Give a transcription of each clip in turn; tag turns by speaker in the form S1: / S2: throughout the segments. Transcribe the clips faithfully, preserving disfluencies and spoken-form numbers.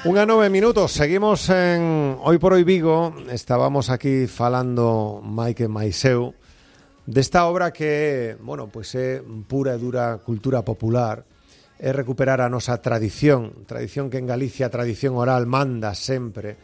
S1: Unha nove minutos, seguimos en Hoy por Hoy Vigo. Estábamos aquí falando Maike Maiseu desta obra que, bueno, pois é pura e dura cultura popular, é recuperar a nosa tradición, tradición que en Galicia a tradición oral manda sempre.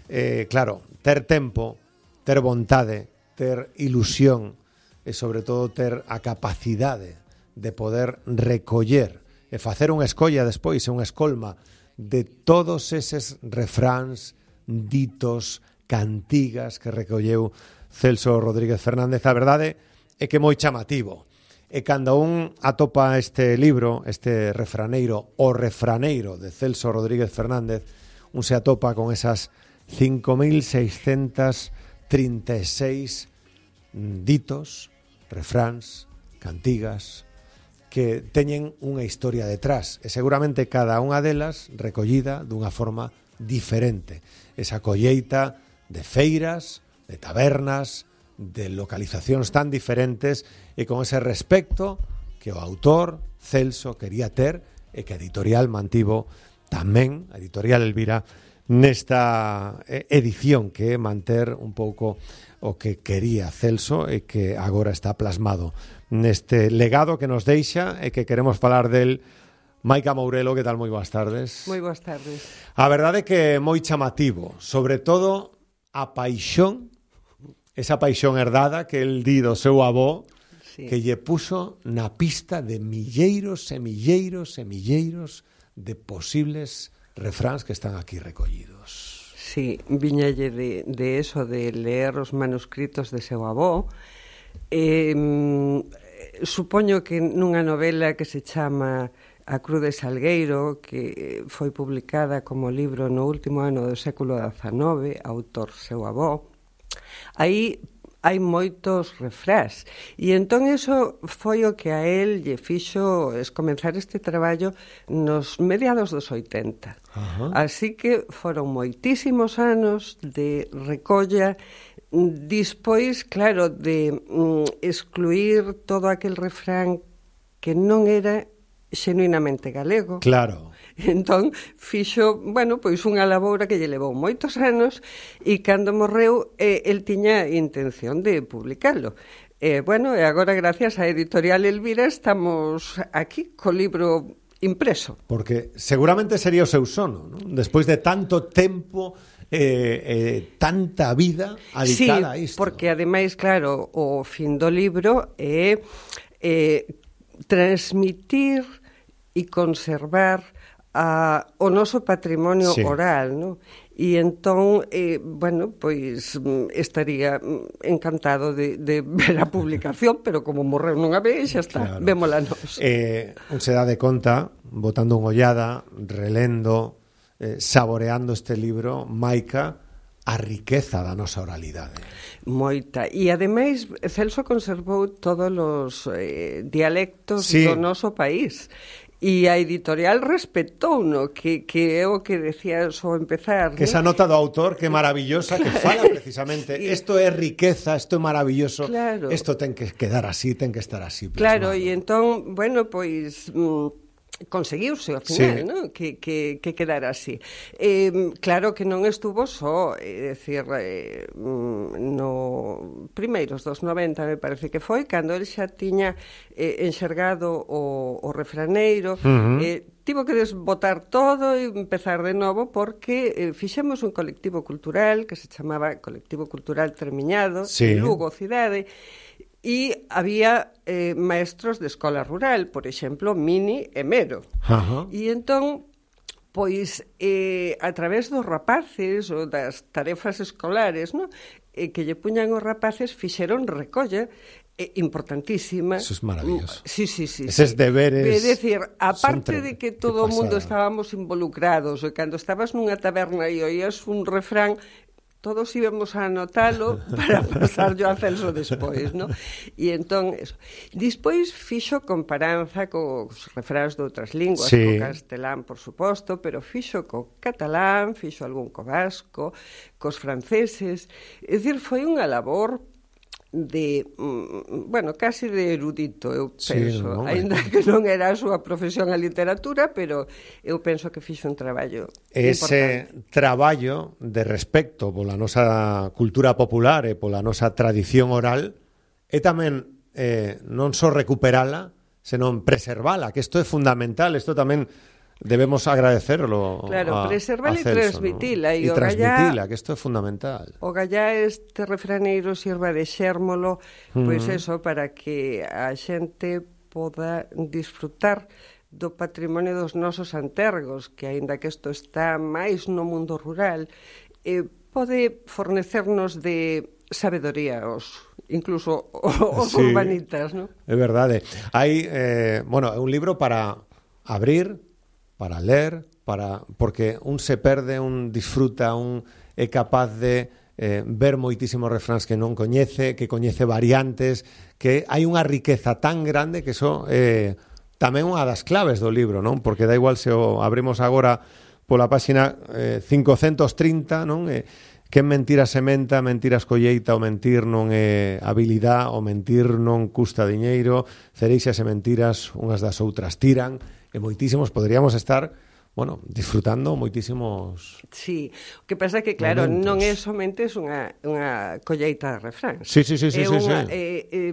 S1: Eh, claro, ter tempo, ter vontade, ter ilusión e sobre todo ter a capacidade de poder recoller e facer unha escolla despois, unha escolma de todos eses refráns, ditos, cantigas que recolleu Celso Rodríguez Fernández. A verdade é que moi chamativo. E cando un atopa este libro, este refraneiro, o refraneiro de Celso Rodríguez Fernández, un se atopa con esas cinco mil seiscentos trinta e seis ditos, refráns, cantigas, que teñen unha historia detrás e seguramente cada unha delas recollida dunha forma diferente. Esa colleita de feiras, de tabernas, de localizacións tan diferentes e con ese respecto que o autor Celso quería ter e que a editorial mantivo tamén, a editorial Elvira, nesta edición que é manter un pouco o que quería Celso e que agora está plasmado neste legado que nos deixa e que queremos falar del. Maica Mourelo, que tal? Moi boas tardes.
S2: Moi boas tardes.
S1: A verdade é que é moi chamativo, sobre todo a paixón, esa paixón herdada que el di do seu avó, sí, que lle puxo na pista de milleiros e milleiros e milleiros de posibles refráns que están aquí recollidos.
S2: Sí, viñalle de, de eso, de ler os manuscritos de seu avó. Eh, supoño que nunha novela que se chama A Cruz de Salgueiro, que foi publicada como libro no último ano do século dezanove, autor seu avó, aí hai moitos refrás. E entón iso foi o que a él lle fixo es comenzar este traballo nos mediados dos oitenta. Uh-huh. Así que foron moitísimos anos de recolla. Dispois, claro, de mm, excluir todo aquel refrán que non era xenuinamente galego.
S1: Claro.
S2: Entón, fixo, bueno, pois unha laboura que lle levou moitos anos e cando morreu, eh, el tiña intención de publicalo. E, eh, bueno, e agora, gracias á editorial Elvira, estamos aquí co libro impreso.
S1: Porque seguramente sería o seu sono, ¿no? Despois de tanto tempo, eh, eh, tanta vida adicada a isto.
S2: Sí, porque ademais, claro, o fin do libro é eh, transmitir e conservar a, o noso patrimonio, sí, oral, ¿no? E entón, eh, bueno, pois estaría encantado de, de ver a publicación, pero como morreu nunha vez, xa está, claro, vémola nos.
S1: Eh, un se dá de conta, botando unha ollada, relendo, eh, saboreando este libro, Maica, a riqueza da nosa oralidade.
S2: Moita. E, ademais, Celso conservou todos os eh, dialectos, sí, do noso país. E a editorial respetouno, que, que é o que decía ao empezar.
S1: Que esa nota do autor, que é maravillosa, claro, que fala precisamente, isto é riqueza, isto é maravilloso, claro, isto ten que quedar así, ten que estar así plasmado.
S2: Claro, e entón, bueno, pois mm, conseguiuse ao final, sí, ¿no? que, que, que quedara así. Eh, claro que non estuvo só, é dicir, eh, no primeiros dos noventa, me parece que foi, cando el xa tiña eh, enxergado o, o refraneiro, uh-huh, eh, tivo que desbotar todo e empezar de novo porque eh, fixemos un colectivo cultural que se chamaba Colectivo Cultural Termiñado, sí, Lugo, cidade, e había eh, maestros de escola rural, por exemplo, Mini e Mero. Uh-huh. E entón, pois, eh, a través dos rapaces ou das tarefas escolares, no? eh, que lle puñan os rapaces, fixeron recolla eh, importantísima.
S1: Eso es maravilloso.
S2: Sí, sí, sí.
S1: Eses
S2: sí.
S1: deberes.
S2: É dicir, aparte de que todo o mundo estábamos involucrados, e cando estabas nunha taberna e oías un refrán, todos íbamos a anotalo para pasarlo a Celso despois, ¿no? E entón, eso. Despois fixo comparanza cos refráns de outras linguas, sí, co castelán, por suposto, pero fixo co catalán, fixo algún co vasco, cos franceses. É dicir, foi unha labor de, mm, bueno, casi de erudito, eu
S1: Sí,
S2: penso,
S1: non,
S2: ainda que non era a súa profesión a literatura, pero eu penso que fixo un traballo
S1: ese
S2: importante.
S1: traballo de respecto pola nosa cultura popular e pola nosa tradición oral é tamén eh, non só recuperala, senón preservala, que isto é fundamental, isto tamén debemos agradecerlo
S2: Claro,
S1: a,
S2: preservala
S1: a
S2: e
S1: Celso,
S2: transmitila,
S1: ¿no?
S2: e
S1: E
S2: o
S1: transmitila,
S2: gallá-
S1: que isto é fundamental.
S2: O gallá este refraneiro sirva de xérmolo, pois
S1: Ujú.
S2: eso, para que a xente poda disfrutar do patrimonio dos nosos antergos, que aínda que isto está máis no mundo rural, eh, pode fornecernos de sabedoría os incluso os
S1: Sí.
S2: urbanitas, non?
S1: É verdade. Hai, eh, bueno, é un libro para abrir, para ler, para porque un se perde, un disfruta, un é capaz de eh, ver moitísimos refráns que non coñece, que coñece variantes, que hai unha riqueza tan grande que iso é eh, tamén unha das claves do libro, non? Porque dá igual se o abrimos agora pola páxina eh, cincocentos trinta, non? Eh, que mentira sementa, mentiras colleita, o mentir non é habilidade, o mentir non custa diñeiro, cereixas e mentiras unhas das outras tiran, e moitísimos poderíamos estar, bueno, disfrutando moitísimos...
S2: Sí, o que pasa é que, claro,
S1: momentos.
S2: non é somente unha, unha colleita de refráns.
S1: Sí, sí, sí, sí,
S2: é
S1: sí,
S2: unha,
S1: sí.
S2: É, é,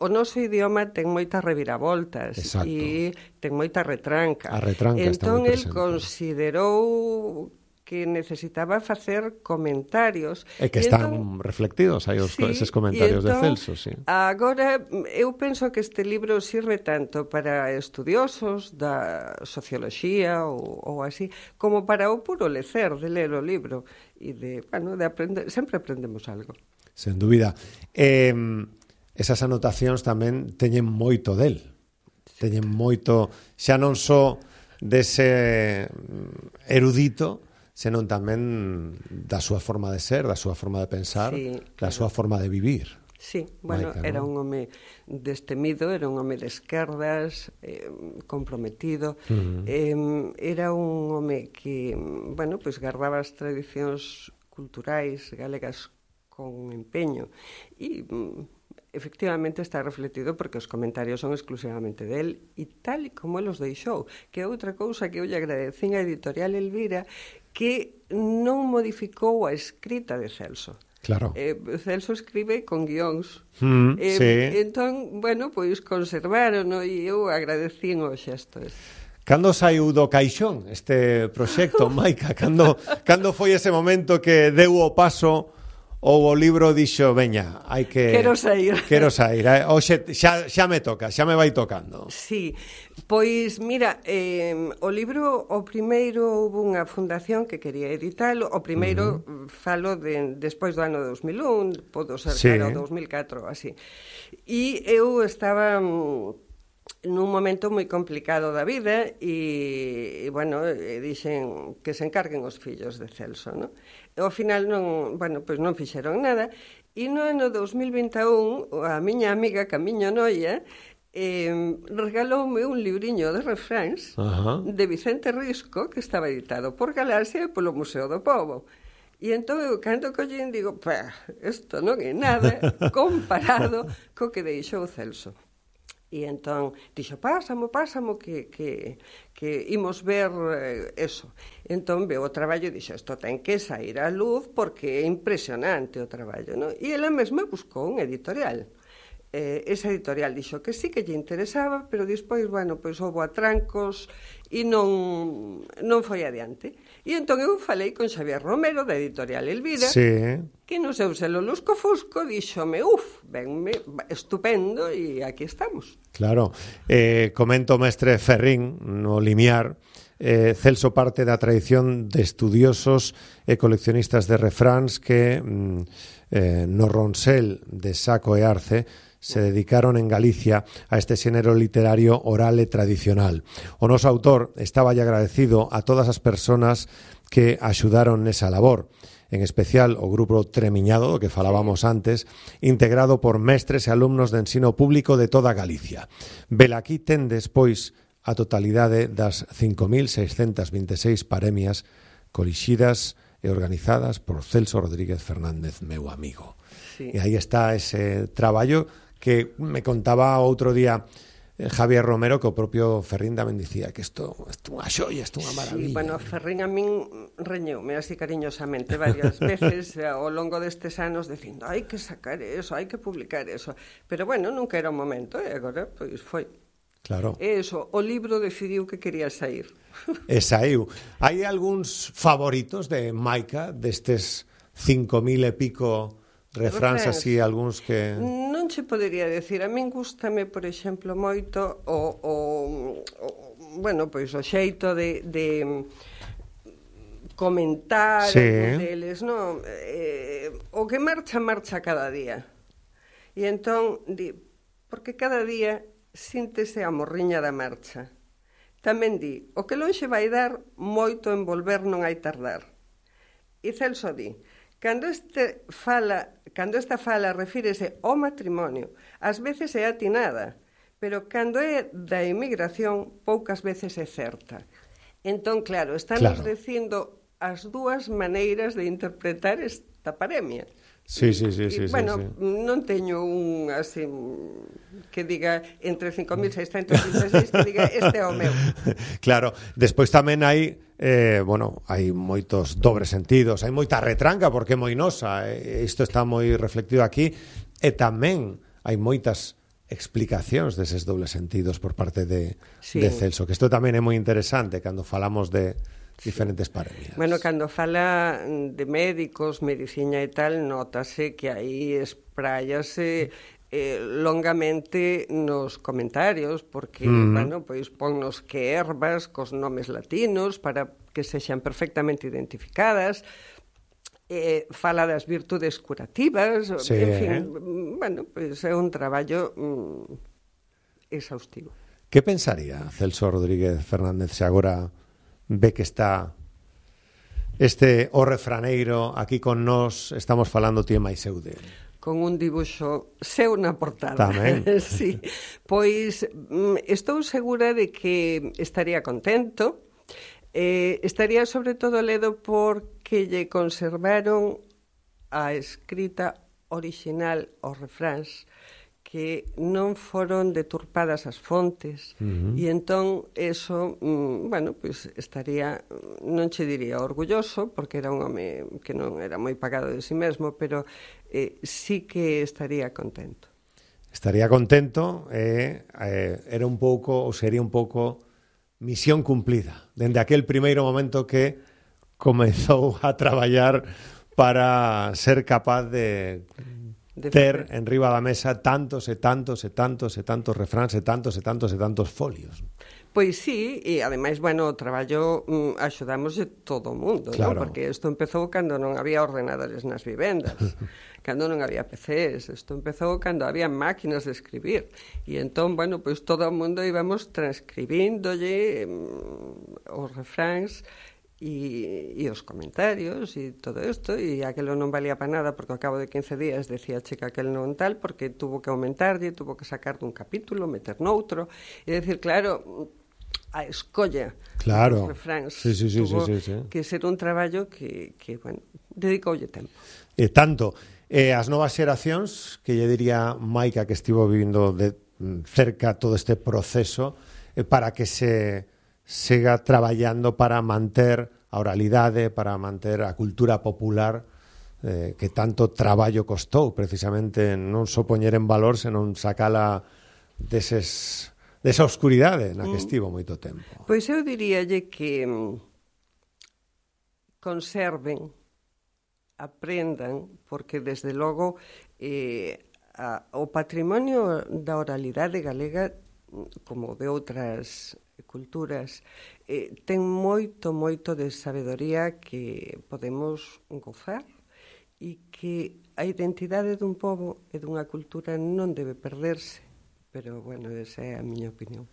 S2: o noso idioma ten moitas reviravoltas.
S1: Exacto.
S2: E ten moita retranca.
S1: A retranca está
S2: entón,
S1: moi
S2: el
S1: presente.
S2: considerou que necesitaba facer comentarios.
S1: E que
S2: E
S1: están
S2: entón,
S1: reflectidos aí os,
S2: sí,
S1: eses comentarios
S2: e entón,
S1: de Celso, sí.
S2: Agora, eu penso que este libro sirve tanto para estudiosos da socioloxía ou, ou así, como para o puro lecer de ler o libro e de, bueno, de aprender, sempre aprendemos algo.
S1: Sen dúbida. Eh, esas anotacións tamén teñen moito del. Teñen moito, xa non só dese erudito, senón tamén da súa forma de ser, da súa forma de pensar,
S2: Sí,
S1: da
S2: claro.
S1: súa forma de vivir.
S2: Sí, bueno,
S1: Maica,
S2: era
S1: ¿no?
S2: un home destemido, era un home de esquerdas, eh, comprometido,
S1: Uh-huh.
S2: eh, era un home que, bueno, pues guardaba as tradicións culturais galegas con empeño e efectivamente está refletido porque os comentarios son exclusivamente del e tal e como el os deixou, que é outra cousa que eu lle agradecín a editorial Elvira, que non modificou a escrita de Celso.
S1: Claro.
S2: Eh, Celso escribe con guións.
S1: Mm,
S2: eh,
S1: sí.
S2: Entón, bueno, pois conservaron e eu agradecín o xesto.
S1: Cando saiu do caixón este proxecto, Maica? Cando, cando foi ese momento que deu o paso ou o libro dixo, veña, hai que...
S2: Quero sair.
S1: Quero sair. Eh? Oxe, xa, xa me toca, xa me vai tocando.
S2: Sí, pois mira, eh, o libro, o primeiro houve unha fundación que quería editalo, o primeiro uh-huh. falo de, despois do ano dos mil un, podo ser
S1: sí.
S2: cara o dos mil catro, así. E eu estaba nun momento moi complicado da vida e, e bueno, e dixen que se encarguen os fillos de Celso, non? E ao final non, bueno, pois non fixeron nada e no ano dos mil vinte e un a miña amiga Camiño Noia eh, regaloume un libriño de refráns
S1: uh-huh.
S2: de Vicente Risco que estaba editado por Galaxia e polo Museo do Pobo. E entón eu cando collín digo, pá, isto non é nada comparado co que deixou Celso. E entón dixo, pásamo, pásamo que, que, que imos ver eh, eso. Entón veo o traballo e dixo, isto ten que sair á luz porque é impresionante o traballo, non? E ela mesma buscou un editorial. Eh, esa editorial dixo que sí que lle interesaba, pero despois, bueno, pois houve atrancos e non, non foi adiante. E entón eu falei con Xavier Romero da editorial Elvira,
S1: sí.
S2: que no seu selo Lusco Fusco díxome, uf, venme, estupendo e aquí estamos.
S1: Claro, eh, comento mestre Ferrín no limiar, eh, Celso parte da tradición de estudiosos e coleccionistas de refráns que mm, eh, no Ronsel de Saco e Arce se dedicaron en Galicia a este xénero literario oral e tradicional. O noso autor estaba agradecido a todas as persoas que axudaron nesa labor, en especial o grupo Tremiñado, do que falábamos antes, integrado por mestres e alumnos de ensino público de toda Galicia. Velaquí ten despois a totalidade das cinco mil seiscentas vinte e seis paremias colixidas e organizadas por Celso Rodríguez Fernández, meu amigo.
S2: Sí.
S1: E aí está ese traballo que me contaba outro día Javier Romero, que o propio Ferrín tamén dicía que isto é unha xoia, isto é unha maravilla.
S2: Sí, bueno, Ferrín a min reñeume así cariñosamente varias veces ao longo destes anos dicindo hai que sacar eso, hai que publicar eso. Pero bueno, nunca era o momento, e agora pois foi.
S1: Claro.
S2: E eso, o libro decidiu que quería sair.
S1: E saiu. Hai algúns favoritos de Maica, destes cinco mil e pico refráns así, algúns que...
S2: Non che podería decir, a min gústame, por exemplo, moito o, o, o bueno, pois o xeito de, de comentar
S1: sí.
S2: deles, non? Eh, o que marcha, marcha cada día. E entón, di, porque cada día síntese a morriña da marcha. Tamén di, o que lonxe vai dar, moito en volver non hai tardar. E Celso di, Cando, este fala, cando esta fala refírese ao matrimonio, ás veces é atinada, pero cando é da emigración, poucas veces é certa. Entón, claro, estamos
S1: claro.
S2: dicindo as dúas maneiras de interpretar esta paremia.
S1: Sí, sí, sí, sí,
S2: e, bueno,
S1: sí, sí.
S2: non teño un así que diga entre cinco mil seiscentos vinte e seis que diga este é o meu.
S1: Claro, despois tamén hai eh, bueno, hai moitos dobres sentidos, hai moita retranca porque é moi nosa, e isto está moi reflectido aquí, e tamén hai moitas explicacións deses dobles sentidos por parte de, sí. de Celso, que isto tamén é moi interesante cando falamos de diferentes paremias.
S2: Bueno, cando fala de médicos, medicina e tal, nótase que aí esprállase eh, longamente nos comentarios, porque, mm. bueno, pois ponnos que ervas cos nomes latinos para que sexan perfectamente identificadas, eh, fala das virtudes curativas,
S1: sí.
S2: en fin, bueno, pois é un traballo mm, exhaustivo.
S1: Que pensaría Celso Rodríguez Fernández se agora ve que está este o refraneiro aquí con nós, estamos falando ti e máis eu de...
S2: Con un dibuixo seu na portada.
S1: Tamén.
S2: Sí. Pois estou segura de que estaría contento, eh, estaría sobre todo ledo porque lle conservaron a escrita original aos refráns, que non foron deturpadas as fontes, uh-huh. e entón eso, mm, bueno, pois estaría, non che diría orgulloso, porque era un home que non era moi pagado de si mesmo, pero eh, sí que estaría contento.
S1: Estaría contento, eh, eh, era un pouco, ou sería un pouco misión cumplida, dende aquel primeiro momento que comezou a traballar para ser capaz de... de ter en riba da mesa tantos e tantos e tantos e tantos refráns e tantos e tantos e tantos folios.
S2: Pois sí, e ademais, bueno, o traballo mm, axudamos de todo o mundo,
S1: claro.
S2: ¿no? Porque isto empezou cando non había ordenadores nas vivendas, cando non había P Cs, isto empezou cando había máquinas de escribir, e entón, bueno, pois todo o mundo íbamos transcribíndolle mm, os refráns e, e os comentarios e todo isto, e aquelo non valía para nada porque ao cabo de quince días decía che que aquel non tal, porque tuvo que aumentarlle, tuvo que sacar dun capítulo, meter noutro, e decir, claro, a escolla
S1: claro.
S2: dos refráns
S1: sí, sí, sí,
S2: tuvo
S1: sí, sí, sí.
S2: que ser un traballo que, que bueno, dedicoulle tempo.
S1: E tanto, eh, as novas xeracións, que lle diría Maica que estivo vivindo de cerca todo este proceso, eh, para que se siga traballando para manter a oralidade, para manter a cultura popular eh, que tanto traballo costou precisamente non só poñer en valor, senón sacala deses, desa oscuridade na que estivo moito tempo.
S2: Pois eu diríalle que conserven, aprendan, porque desde logo eh, a, o patrimonio da oralidade galega, como de outras culturas, eh, ten moito, moito de sabedoría que podemos gozar e que a identidade dun pobo e dunha cultura non debe perderse, pero, bueno, esa é a miña opinión.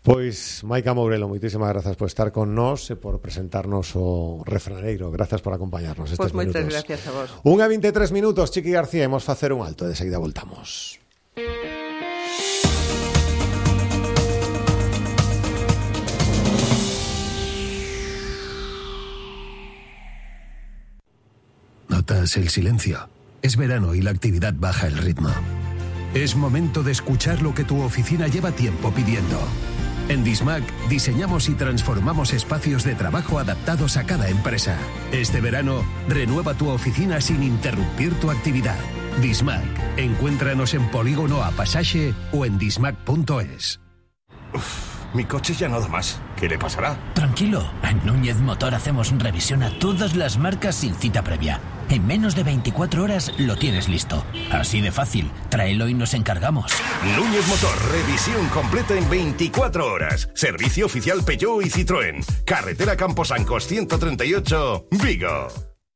S1: Pois, Maica Mourelo, moitísimas grazas por estar con nós e por presentarnos o refraneiro. Grazas por acompañarnos estes
S2: pois
S1: minutos.
S2: Pois moitas gracias a vos.
S1: Unha vinte e tres minutos, Chiqui García, imos facer un alto e de seguida voltamos.
S3: Notas el silencio. Es verano y la actividad baja el ritmo. Es momento de escuchar lo que tu oficina lleva tiempo pidiendo. En Dismac diseñamos y transformamos espacios de trabajo adaptados a cada empresa. Este verano, renueva tu oficina sin interrumpir tu actividad. Dismac. Encuéntranos en Polígono A Pasaje o en dismac punto es.
S4: Uf, mi coche ya no da más. ¿Qué le pasará?
S5: Tranquilo, en Núñez Motor hacemos revisión a todas las marcas sin cita previa. En menos de veinticuatro horas lo tienes listo. Así de fácil. Tráelo y nos encargamos.
S4: Núñez Motor, revisión completa en veinticuatro horas. Servicio oficial Peugeot y Citroën. Carretera Camposancos ciento treinta y ocho, Vigo.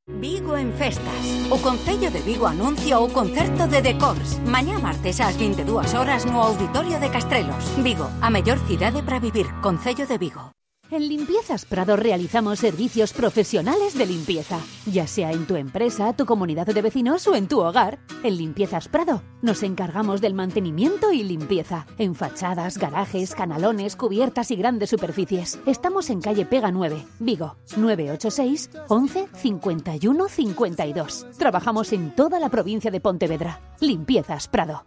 S6: Vigo en festas. O Concello de Vigo anuncia o concerto de Decors. Mañá martes ás veintidúas horas no Auditorio de Castrelos. Vigo, a mellor cidade para vivir. Concello de Vigo.
S7: En Limpiezas Prado realizamos servicios profesionales de limpieza, ya sea en tu empresa, tu comunidad de vecinos o en tu hogar. En Limpiezas Prado nos encargamos del mantenimiento y limpieza, en fachadas, garajes, canalones, cubiertas y grandes superficies. Estamos en calle Pega nueve, Vigo, nueve ocho seis, once, cincuenta y uno, cincuenta y dos. Trabajamos en toda la provincia de Pontevedra. Limpiezas Prado.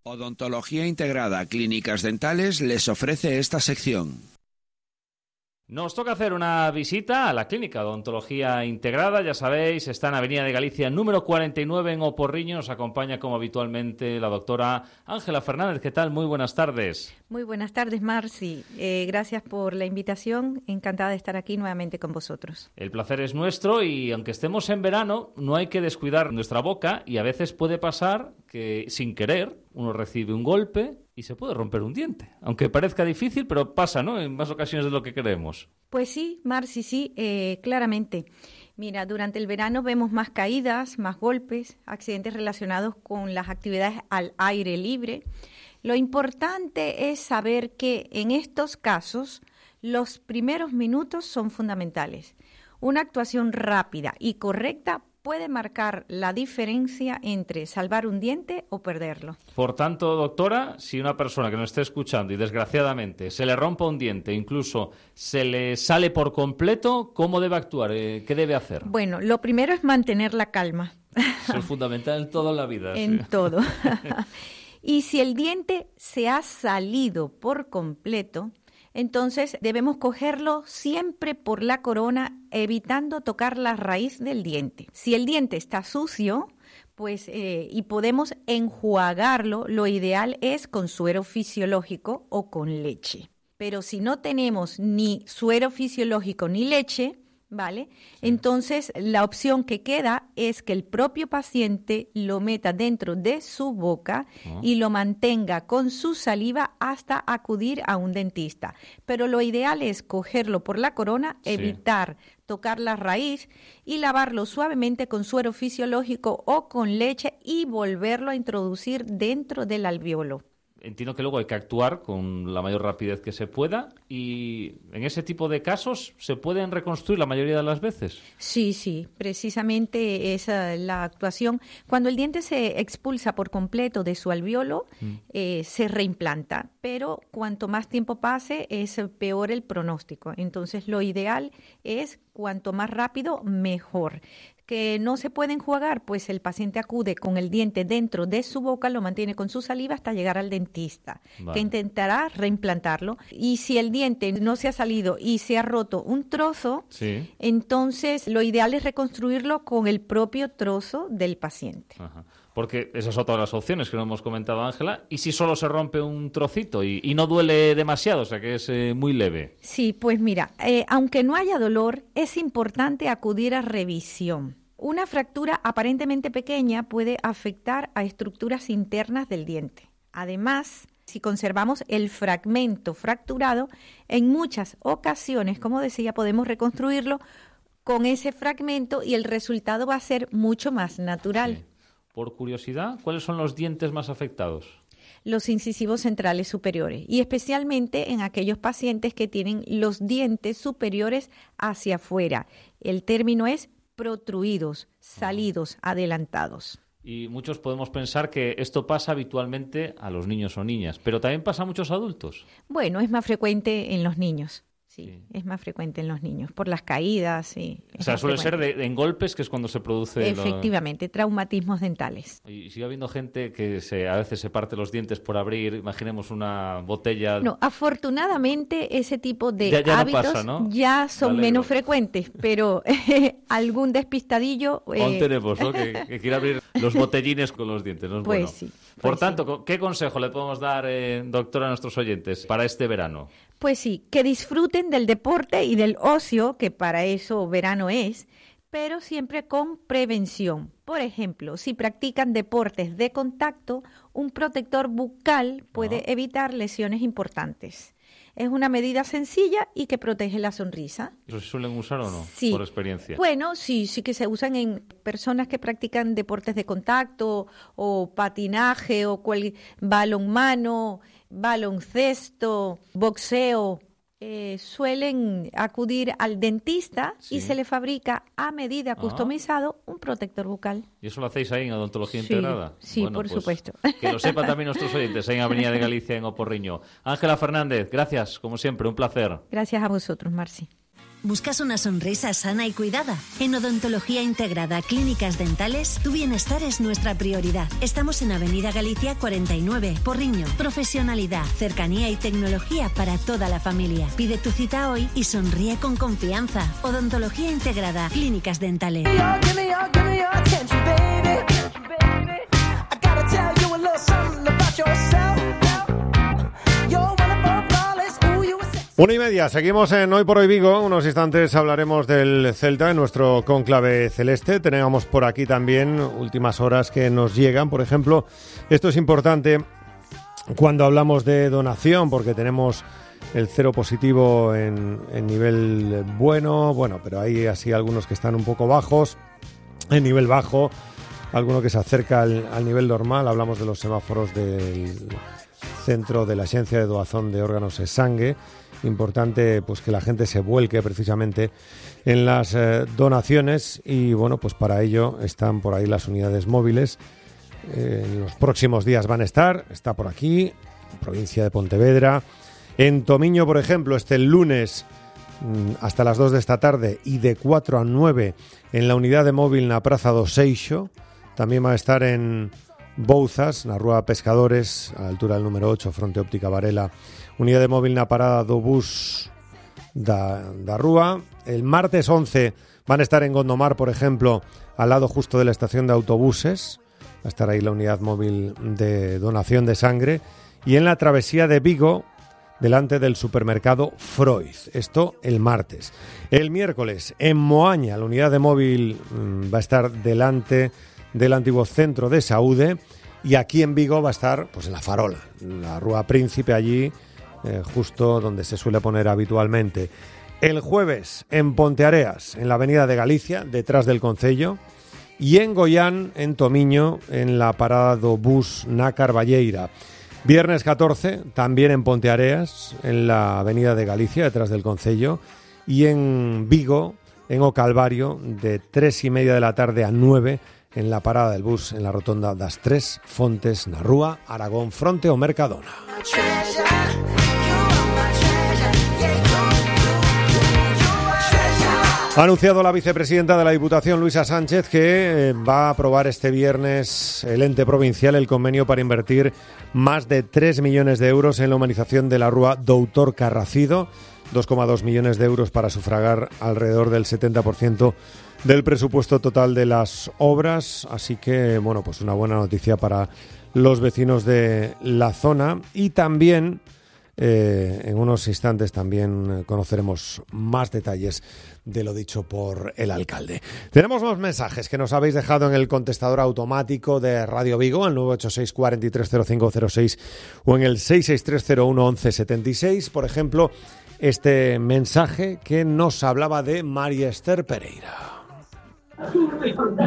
S8: Odontología Integrada Clínicas Dentales les ofrece esta sección.
S9: Nos toca hacer una visita a la clínica de Odontología Integrada. Ya sabéis, está en Avenida de Galicia número cuarenta y nueve en Oporriño. Nos acompaña como habitualmente la doctora Ángela Fernández. ¿Qué tal? Muy buenas tardes.
S10: Muy buenas tardes, Marci. Eh, gracias por la invitación. Encantada de estar aquí nuevamente con vosotros.
S9: El placer es nuestro y aunque estemos en verano, no hay que descuidar nuestra boca y a veces puede pasar que sin querer uno recibe un golpe y se puede romper un diente. Aunque parezca difícil, pero pasa, ¿no? En más ocasiones de lo que queremos.
S10: Pues sí, Marci, sí, eh, claramente. Mira, durante el verano vemos más caídas, más golpes, accidentes relacionados con las actividades al aire libre. Lo importante es saber que en estos casos los primeros minutos son fundamentales. Una actuación rápida y correcta puede marcar la diferencia entre salvar un diente o perderlo.
S9: Por tanto, doctora, si una persona que nos esté escuchando y desgraciadamente se le rompa un diente, incluso se le sale por completo, ¿cómo debe actuar? ¿Qué debe hacer?
S10: Bueno, lo primero es mantener la calma.
S9: Eso es fundamental en toda la vida.
S10: En
S9: sí.
S10: todo. Y si el diente se ha salido por completo, entonces debemos cogerlo siempre por la corona, evitando tocar la raíz del diente. Si el diente está sucio, pues eh, y podemos enjuagarlo, lo ideal es con suero fisiológico o con leche. Pero si no tenemos ni suero fisiológico ni leche, ¿vale? Sí. Entonces, la opción que queda es que el propio paciente lo meta dentro de su boca oh. y lo mantenga con su saliva hasta acudir a un dentista. Pero lo ideal es cogerlo por la corona, sí. evitar tocar la raíz y lavarlo suavemente con suero fisiológico o con leche y volverlo a introducir dentro del alvéolo.
S9: Entiendo que luego hay que actuar con la mayor rapidez que se pueda y en ese tipo de casos se pueden reconstruir la mayoría de las veces.
S10: Sí, sí, precisamente esa es la actuación. Cuando el diente se expulsa por completo de su alvéolo, mm. eh, se reimplanta, pero cuanto más tiempo pase es peor el pronóstico. Entonces lo ideal es cuanto más rápido, mejor. Que no se puede enjuagar, pues el paciente acude con el diente dentro de su boca, lo mantiene con su saliva hasta llegar al dentista, vale. que intentará reimplantarlo. Y si el diente no se ha salido y se ha roto un trozo, sí. entonces lo ideal es reconstruirlo con el propio trozo del paciente.
S9: Ajá. Porque esas son todas las opciones que nos hemos comentado, Ángela. ¿Y si solo se rompe un trocito y, y no duele demasiado, o sea que es eh, muy leve?
S10: Sí, pues mira, eh, aunque no haya dolor, es importante acudir a revisión. Una fractura aparentemente pequeña puede afectar a estructuras internas del diente. Además, si conservamos el fragmento fracturado, en muchas ocasiones, como decía, podemos reconstruirlo con ese fragmento y el resultado va a ser mucho más natural.
S9: Sí. Por curiosidad, ¿cuáles son los dientes más afectados?
S10: Los incisivos centrales superiores y especialmente en aquellos pacientes que tienen los dientes superiores hacia afuera. El término es protruidos, salidos, adelantados.
S9: Y muchos podemos pensar que esto pasa habitualmente a los niños o niñas, pero también pasa a muchos adultos.
S10: Bueno, es más frecuente en los niños. Sí, sí, es más frecuente en los niños, por las caídas. Sí,
S9: o sea, suele frecuente. ser de, de, en golpes, que es cuando se produce...
S10: Efectivamente, lo... traumatismos dentales.
S9: Y sigue habiendo gente que se, a veces se parte los dientes por abrir, imaginemos una botella...
S10: No, afortunadamente ese tipo de
S9: ya, ya
S10: hábitos
S9: no pasa, ¿no?
S10: ya son menos frecuentes, pero eh, algún despistadillo...
S9: Eh... Aún tenemos, ¿no? que, que quiere abrir los botellines con los dientes, ¿no? Es
S10: pues
S9: bueno.
S10: sí. Pues
S9: por tanto,
S10: sí.
S9: ¿qué consejo le podemos dar, eh, doctora, a nuestros oyentes para este verano?
S10: Pues sí, que disfruten del deporte y del ocio, que para eso verano es, pero siempre con prevención. Por ejemplo, si practican deportes de contacto, un protector bucal puede ah. evitar lesiones importantes. Es una medida sencilla y que protege la sonrisa.
S9: ¿Eso se suelen usar o no?
S10: Sí.
S9: Por experiencia.
S10: Bueno, sí, sí que se usan en personas que practican deportes de contacto o patinaje o cual, balonmano, baloncesto, boxeo. Eh, suelen acudir al dentista sí. y se le fabrica a medida customizado ah. un protector bucal.
S9: ¿Y eso lo hacéis ahí en Odontología
S10: sí,
S9: Integrada?
S10: Sí,
S9: bueno,
S10: por
S9: pues,
S10: supuesto.
S9: Que lo sepan también nuestros oyentes en Avenida de Galicia, en Oporriño. Ángela Fernández, gracias, como siempre, un placer.
S10: Gracias a vosotros, Marci.
S11: ¿Buscas una sonrisa sana y cuidada? En Odontología Integrada Clínicas Dentales, tu bienestar es nuestra prioridad. Estamos en Avenida Galicia cuarenta y nueve, Porriño. Profesionalidad, cercanía y tecnología para toda la familia. Pide tu cita hoy y sonríe con confianza. Odontología Integrada Clínicas Dentales.
S1: Una y media, seguimos en Hoy por Hoy Vigo. Unos instantes hablaremos del Celta en nuestro cónclave celeste. Tenemos por aquí también últimas horas que nos llegan. Por ejemplo, esto es importante cuando hablamos de donación, porque tenemos el cero positivo en, en nivel bueno, bueno, pero hay así algunos que están un poco bajos, en nivel bajo, alguno que se acerca al, al nivel normal. Hablamos de los semáforos del Centro de la Agencia de Doazón de Órganos e Sangue. Importante pues que la gente se vuelque precisamente en las eh, donaciones y bueno, pues para ello están por ahí las unidades móviles. Eh, en los próximos días van a estar, está por aquí, provincia de Pontevedra. En Tomiño, por ejemplo, este lunes mmm, hasta las dos de esta tarde y de cuatro a nueve en la unidad de móvil na Praza do Seixo. También va a estar en Bouzas, na Rúa Pescadores, a la altura del número ocho, fronte Óptica Varela. Unidade móvil na parada do bus da, da Rúa. El martes once van a estar en Gondomar, por ejemplo, al lado justo de la estación de autobuses. Va a estar ahí la unidad móvil de donación de sangre. Y en la travesía de Vigo, delante del supermercado Freud. Esto el martes. El miércoles, en Moaña, la unidad de móvil mmm, va a estar delante del antiguo centro de Saúde. Y aquí en Vigo va a estar pues en la Farola, en la Rúa Príncipe, allí eh, justo donde se suele poner habitualmente. El jueves en Ponteareas, en la Avenida de Galicia, detrás del Concello, y en Goián, en Tomiño, en la parada do bus na Carballeira. Viernes catorce, también en Ponteareas, en la Avenida de Galicia, detrás del Concello, y en Vigo, en O Calvario, de tres y media de la tarde a nueve, en la parada del bus en la rotonda das Tres Fontes na Rúa Aragón fronte ao Mercadona. Ha anunciado la vicepresidenta de la Diputación, Luisa Sánchez, que va a aprobar este viernes el ente provincial el convenio para invertir más de tres millones de euros en la humanización de la Rúa Doutor Carracido, dos coma dos millones de euros para sufragar alrededor del setenta por ciento del presupuesto total de las obras, así que, bueno, pues una buena noticia para los vecinos de la zona. Y también, eh, en unos instantes, también conoceremos más detalles de lo dicho por el alcalde. Tenemos los mensajes que nos habéis dejado en el contestador automático de Radio Vigo, el nueve ocho seis, cuatro tres cero cinco cero seis o en el seis seis tres cero uno once setenta y seis. Por ejemplo, este mensaje que nos hablaba de María Esther Pereira.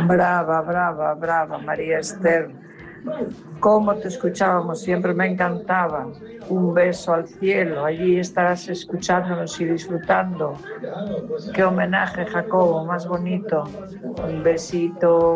S12: Brava, brava, brava, María Esther. Cómo te escuchábamos, siempre me encantaba. Un beso al cielo, allí estarás escuchándonos y disfrutando. Qué homenaje, Jacobo, más bonito. Un besito.